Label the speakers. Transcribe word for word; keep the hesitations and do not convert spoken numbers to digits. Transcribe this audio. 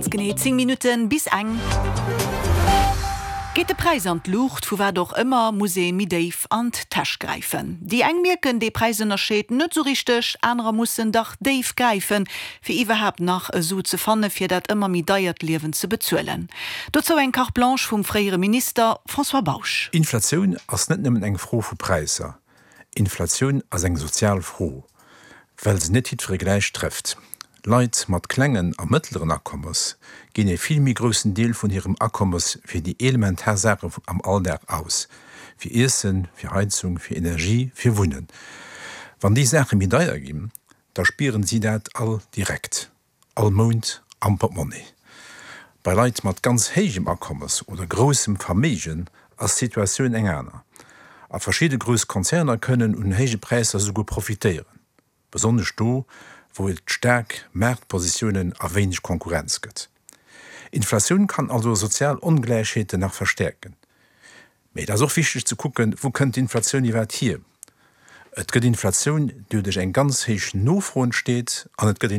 Speaker 1: Ganz genee zéng Minutten bis eng. Geet de Präis an d'Luucht, vu wat och ëmmer, muss ee méi déif an d'Täsch gräifen. Déi eng mierken dee Präisënnerscheed net sou richteg, anerer mussen dach déif gräifen, fir iwwerhaapt nach e Su ze fanne fir dat ëmmer méi deiert Liewen ze bezuelen. Dozou eng Carte Blanche vum fréiere Minister François Bausch.
Speaker 2: Inflatioun ass net nëmmen eng Fro vu Präisser. Inflatioun ass eng sozial Fro, well se net jiddweree gläich trëfft. Leit mat klengen a mëttleren Akommes ginn e vill méi groussen Deel vun hirem Akommes fir déi elementar Saache am Alldag aus, fir Iessen, fir Heizung, fir Energie, fir Wunnen. Wann déi Saache méi deier ginn, da spieren si dat all direkt, all Mount am Portmonni. Bei Leit mat ganz héijem Akommes oder groussem Verméigen ass d'Situatioun eng aner. A verschidde grouss Konzerner kënnen un héije Präisser souguer profitéieren, besonnesch do, wou et staark Maartpositiounen a wéineg Konkurrenz gëtt. Inflatioun kann also sozial Ongläichheeten nach verstäerken. Mee et ass och wichteg ze kucken, wou kënnt d'Inflatioun iwwerhaapt hier? Et gëtt Inflatioun, déi duerch eng ganz héich Nofro entsteet, an et gëtt